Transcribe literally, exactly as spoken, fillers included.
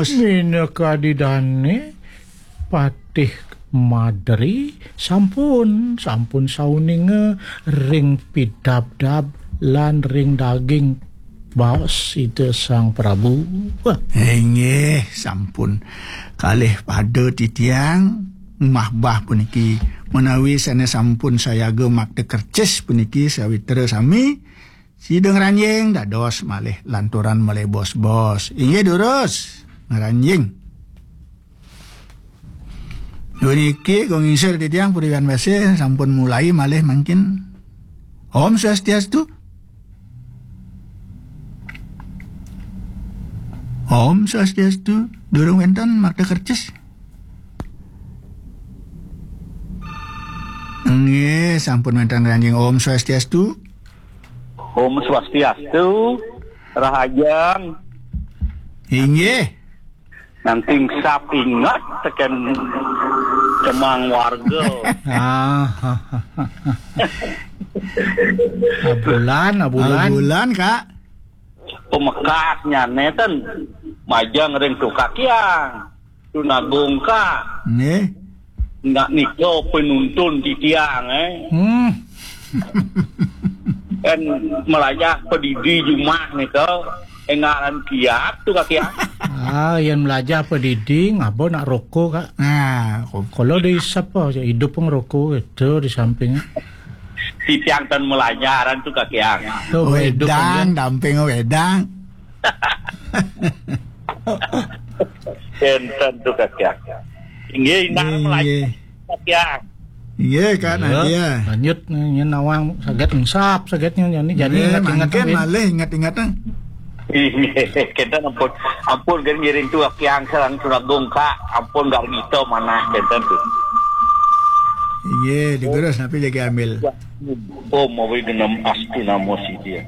Minakadi dane Patih Madri sampun, sampun sauninga ring pidabdab lan ring daging baos Ida Sang Prabu. Inggih, sampun kalih pada titiang mahbah puniki, menawi sane sampun sayaga makta kercis puniki sawitra sami, sida ngranjing dados malih lanturan malih bos-bos. Inggih durus, ngranjing. Puniki kong ngingsir titiang puriwan basih sampun mulai malih mangkin. Om Swastiastu. Om Swastiastu. Durung wenten makta kercis. Nggih, sampun wenten ngranjing. Om Swastiastu. Om Swastiastu. Rahajeng. Inggih. Nanging sap inget teken kemang warga. Ah, abulan, abulan. Abulan, Kak. Pemekasnya neten majeng ring Tukakyang. Tunagung, Kak. Nggih. Nak nika penuntun titiang, eh. Hmm. Kan melajah pedidi jumah nika, engaran kiat tu kaki, ah. Ah, yang melajah pedidi ngapa nak rokok, Kak? Nah, kalau di siapa hidup ngerokok itu di samping. Titiang tan melajaran tu kaki, ah. Tuh, hidup wedang, kan, damping wedang. Enten tu kaki, ah. Inggih, indah. Inggih. Melajah kaki, ah. Inggih, Kak Nadia. Lanjut, nyen nawang saget engsap, saget nyen jani, jani. Inggih, ingat-ingat mangkin malih ingat-ingat, ah. Inggih, kenten ampun, ampun, kan ngiring tu Kaki Angsel sareng Tunagung, Kak. Ampun, gak gitu manah kenten tu. Inggih, digurus napi jagi ambil. Om Awi Genem Astu Namo Sidhi.